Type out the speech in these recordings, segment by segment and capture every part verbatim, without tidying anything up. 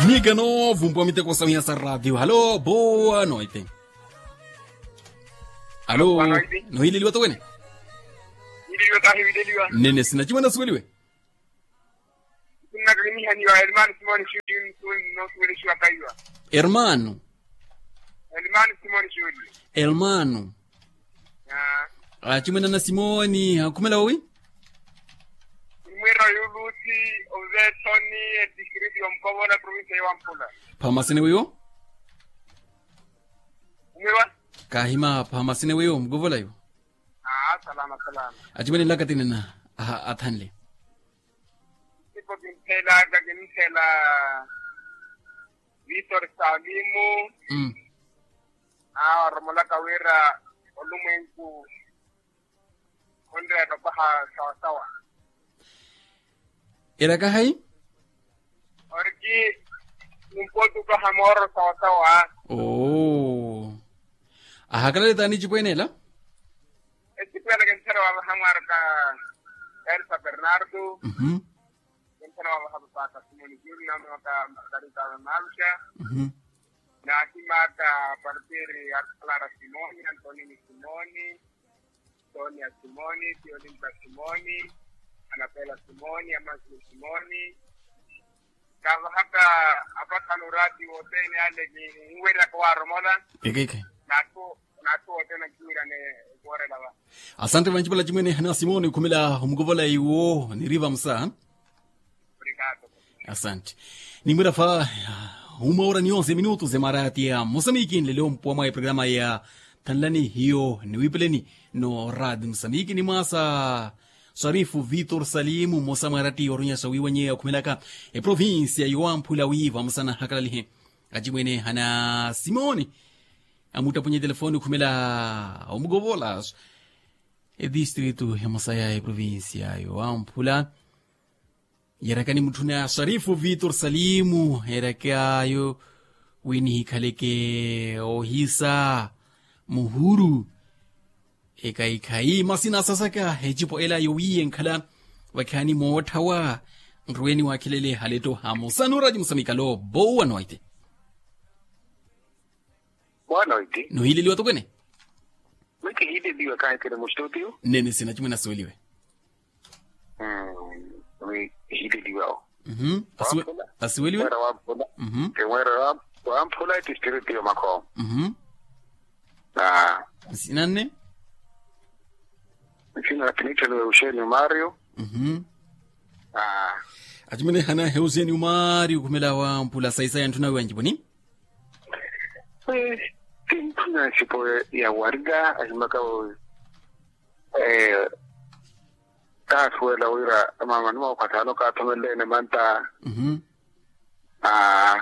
Mika noovumpuwa miteko sawiha sa ratio halo boa noite. Halo. Nohileliwa towene. Nene sina chimwene asuweliwe. Nnakikinihaniwa hermano simoni. Nosuwelixiwa kaiwa. Hermano. Hermano simoni xuli. Hermano. Achimwene ana simoni akhumela wowi. Mwira yulusi. Ovetoni. Edistrito ya mukovola provincia ya wampula. Phamasene wiwo. Mwira. Kahima phamasene wiwo mukovola iwo. Aa salama salama. Achimwene nlaka tinina athanle. Ipo kinthela kakinthela. Vitor salimu. Awaromolaka wira olumwenku onreera opaha sawasawa. Eraka hayi? Oriki. Nimpotuka hamooro sawasawa. Oo. Ahakalale taani ecipweene ela? Ecipweene ela kintthera wavaha mwaraka. Elsa bernardo. Kintthera wavaha papaaka simoni junior maka margarita malusha. Naahimaka partiri arkalara simoni antonini simoni. Sonia simoni, tiolinta simoni, anapela simoni, amasio simoni. Kavahaka apakhano rati wothene ale kinweraka waromola. Ekeke. Nathu nathu wothene ankiwirane. Kuworela va. Asante vancipala cimwene hana simoni khumela omukovola iwo niriva musa. Asante. Nimwira fa uma ora ni onze minutos emarati ya mosamiki nlelo mpuwa mwa eprograma ya thanlani hiyo niwipeleni no radi mosamiki ni mwasa swarifu vitor salimu mmosa mwarati orunyasa wiwanyeya okhumelaka eprovincia yowamphula wiva mosana hakalalihe. Acimwene hana simoni amuttapunye telefoni okhumela omukovola. Edistritu emosa ya eprovincia yowamphula. Yeerakani mutthuna swarifu vitor salimu eerakaayo wi nihikhaleke ohisa muhuru. Ekhayi-khayi masi naasasaka ecipo ela yowiiye nkhala vakhaani mootthawa. Nruweni waakhelele haletto hamosa nuuraci musamikalo bowa noite. Bowa noite. Nohiileliwa tokwene. Mwe kihiileliwa kaahikele mustutio. Nene sina cimwe nasuweliwe. Mwe kihiileliwa o. Asiweliwe. Mwera wamphula. Mwe mwera wamphula etistriti yomakhomo. Nsina nne. Nsina na pinitthelo ya uxeni umario. Acimene hana heuseni umario khumela wamphula saisa ya ntthu nawe wanjiponi. Tintthuna nsipo ya warila ahimaka. Kaasuwela wira mama ni maukhathano kaathomeleleene manta. Aa.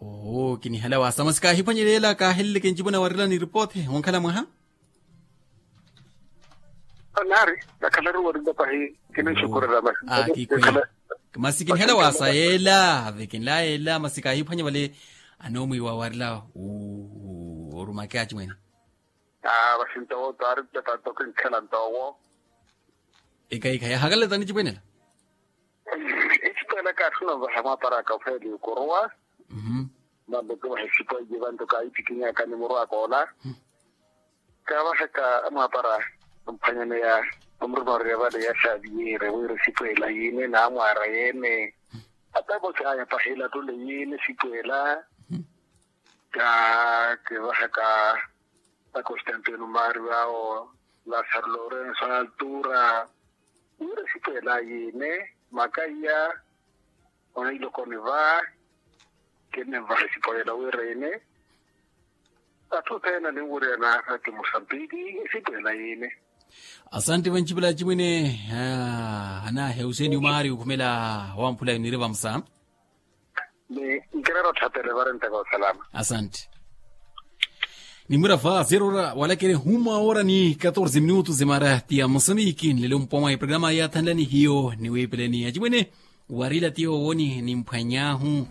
Oho kinihala wasa masi kaahiphwanyelela kaaheleleke ncipuna warila ni ripothe wonkhala mwaha. Nari nakhalaru warila pahi. Kinixukurela masi. Masi kinihala wasa yeela ave kinlaya yeela masi kaahiphwanya vale. Anoomwiiwa warila orumake acimwene. Aa vasintowo taari ttata nto kinkhela ntowo. Ekaikha yahakalale tani cipwenela. Ecipwela kaathuna ovaha mwaparaka ofeeli okuruwa. Mhh. Mambeke ovaha ecipwela vantu kaayittikinyaka ni murwaka ola. Kaavahaka amwaapara omphwanyaneya omurumorerya vale ya xaviere wira esipwela yiine naamwaara yeene. Ata vosi aya pahi elattule yiine esipwela. Ka kivahaka na constantino mario awo, lasaro lorenso altura. Wira esipwela yiine makaiya. Oneilokoni va kinenvaha esipoyela wira ene. Atthu othene aninwuriyana ati musambiki esipoyela yene. Asanti vancipela acimwene. Hanahe useni umaari ukhumela wamphula yuniri vamusa. Ni nkirero tthapele varentaka osalama. Asanti. Nimwira va zerora walakere huma ora ni katorze minutos emara ti ya mosamiki nlelo mpoma ya programa ya thanlani hiyo niwipeleni acimwene. Warila tiyo woni nimphwanyahu.